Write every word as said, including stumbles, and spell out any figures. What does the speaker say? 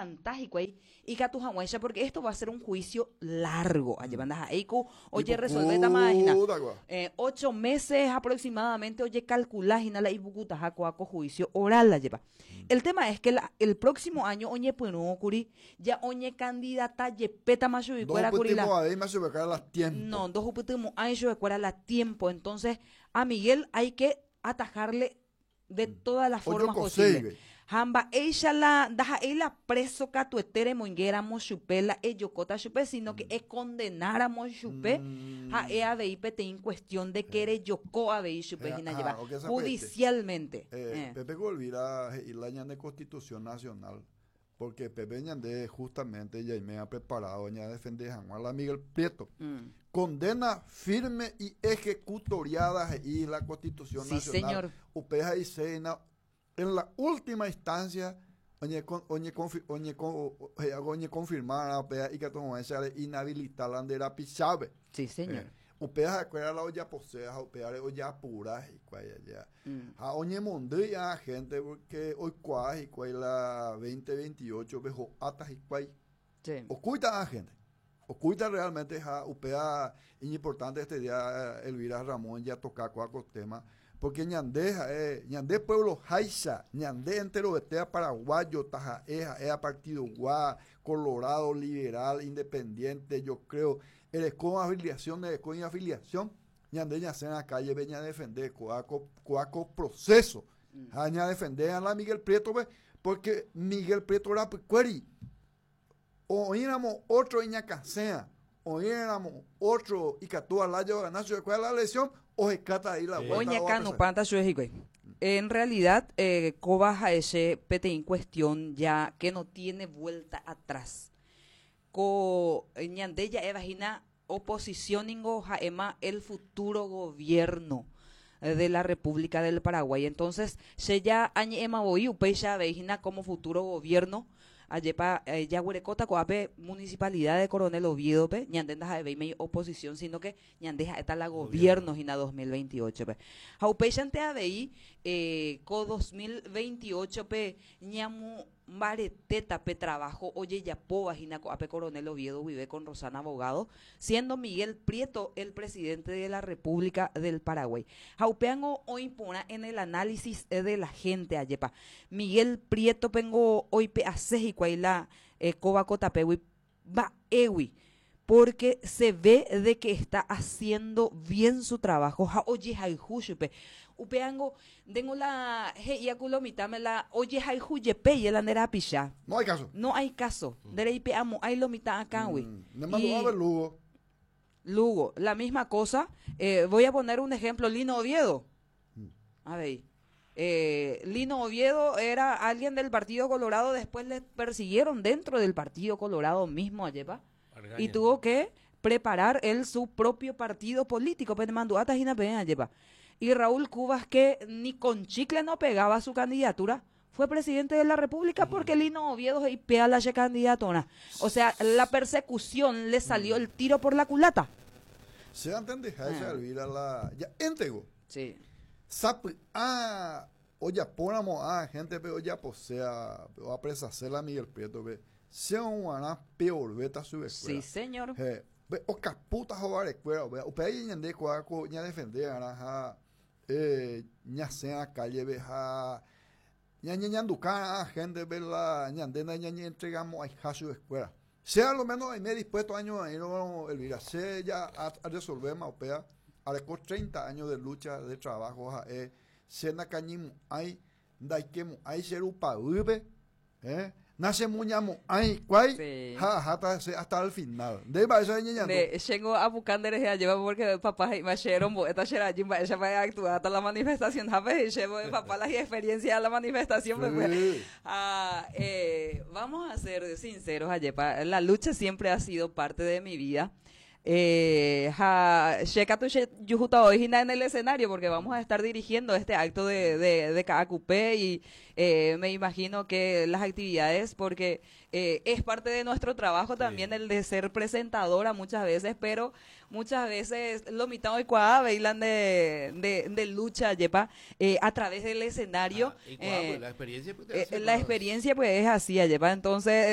Oaguanta hikuái ikatu hag̃uáicha, porque esto va a ser un juicio largo. Ajépa ndaha'éi ku ojeresolvétama hína. Ipukuta kua. Eh, ocho meses aproximadamente ojekalkula hína la ipukutaha kóa ko juicio oral, ajépa. El tema es que la, el próximo año oñepyrũkuri ya oñecandidata jepétama chuguikuéra kuri la Ndohupytymo'ãvéima chupekuéra la tiempo. No, ndohupytymo'ãi chupekuéra la tiempo. Entonces, a Miguel hay que atajarle de todas las formas Ojokoséive. posibles. Ha mba'éicha la ndaha'éi la preso katuete remoingéramo chupe la ejokóta chupe, sino que econdenáramo chupe, Mm. ha'e avei peteĩ cuestión de que rejoko avei chupe Eh, hína ah, jeva ok, esa judicialmente. Eh, Eh. Pepe Golvira he'i la ñane Constitución Nacional, porque Pepe ñande justamente ya me ha preparado ya defender a la Miguel Prieto. Mm. Condena firme y ejecutoriada y la Constitución Sí, Nacional. señor. Upeja y seina en la última instancia oñe con, oñe confi, oñe con, oye, oñe confirmar upea y que inhabilitar la ndera pichabe. Sí, señor. Eh, upea jakuera la olla posea, upea olla apura y cual ya. Mm. Ha oñemondýi a gente porque oikuaa hikuái la dos mil veintiocho pe ho'áta hikuái. Sí. Oculta a gente. Oculta realmente ha upea importante este día, Elvira Ramón, ya toca cuatro tema porque ñande eh, ñande pueblo háicha, ñande enterovetea paraguayo, taha'e ha'e partido gua, colorado, liberal, independiente, yo creo, ereko afiliación, ereko afiliación, ñande ñasẽ a calle ve ña defender coaco coaco proceso. Mm. Ha ña defender a la Miguel Prieto ve, porque Miguel Prieto era cueri. Oíramos otro iñacasea, oíramos otro ikatu alayo ganacio de la elección o se ahí la vuelta. Oñakanu panta hikuái. En realidad, eh, kóva ha'e peteĩ cuestión ya que no tiene vuelta atrás. Ko ñande ja'éva hína oposición ningo ha'éma el futuro gobierno de la República del Paraguay. Entonces, che ya añe'ẽma voi upéicha avei hína como futuro gobierno, ajépa eh, jaguerekóta ko'ápe Municipalidad de Coronel Oviedo-pe, ñande ndaha'evéima oposición, sino que ñande ha'éta la gobierno hína dos mil veintiocho-pe. Ha upéichante avei eh, ko dos mil veintiocho-pe ñamombaretéta pe trabajo ojejapóva hína ko'ápe Coronel Oviedo guive con Rosana Abogado, siendo Miguel Prieto el presidente de la República del Paraguay. Ha upéango oĩporã en el análisis de la gente, ajépa. Miguel Prieto pengo oipe'ase hikuái la eh, kóva ko tapégui mba'égui, porque se ve de que está haciendo bien su trabajo ha ojehayhu chupe. Upéango tengo la he'íaku lo mitãme la ojehayhu jepe la nde rapicha. No hay caso. No hay caso. Ndereipe'amo'ãi lo mitã akãgui. Mm. Ne mandó a ver Lugo. Lugo, la misma cosa. Eh, voy a poner un ejemplo, Lino Oviedo. Mm. A ver. Eh, Lino Oviedo era alguien del Partido Colorado, después le persiguieron dentro del Partido Colorado mismo, ajépa, y tuvo que preparar él su propio partido político. Ajépa. Y Raúl Cubas, que ni con chicle no pegaba su candidatura, fue presidente de la República porque Lino Oviedo y pea la candidatura. O sea, la persecución le salió el tiro por la culata. Se entiende, ah. Elvira, la ya entregó. Sí. Sap ah ojapóramo a gente pe ojaposea o apresasela Miguel Prieto pe sea un peor beta su Sí, señor. Eh, pe okaputa hovarekuéra pe upéi ñande kóa ko ñadefende arã eh ñasẽ a calle ve ha ñañeñanduka a gente ve la ñande nañañentregamo'ãiha su escuela. Sea lo menos me dispuesto año a ir Elvira, sea ya a, a resolver ma upéa areko treinta años de lucha, de trabajo, ha'e che nakañymo'ãi ndaikemo'ãi che rupavýpe, eh nachemuñamo'ãi kuái Sí. ha aháta che hasta el final. Nde mba'éicha ñeñandu? De chéngo apuka nderehe ajépa porque papá he'íma che rombo'éta che rajy mba'éichapa actuáta la manifestación hápe che papá la experiencia de la manifestación pues. Sí. Ah, eh, vamos a ser sinceros, ajépa, la lucha siempre ha sido parte de mi vida. Eh, ha, che katu che juhúta hoy hína en el escenario porque vamos a estar dirigiendo este acto de, de, de K A Q P y eh, me imagino que las actividades, porque eh, es parte de nuestro trabajo también el de ser presentadora muchas veces, pero muchas veces lo mitad hoy bailan de, de, de lucha, ajépa, eh, a través del escenario. Ah, y cuá, eh, pues, la experiencia pues, te eh, hace la más- experiencia pues es así, ajépa. Entonces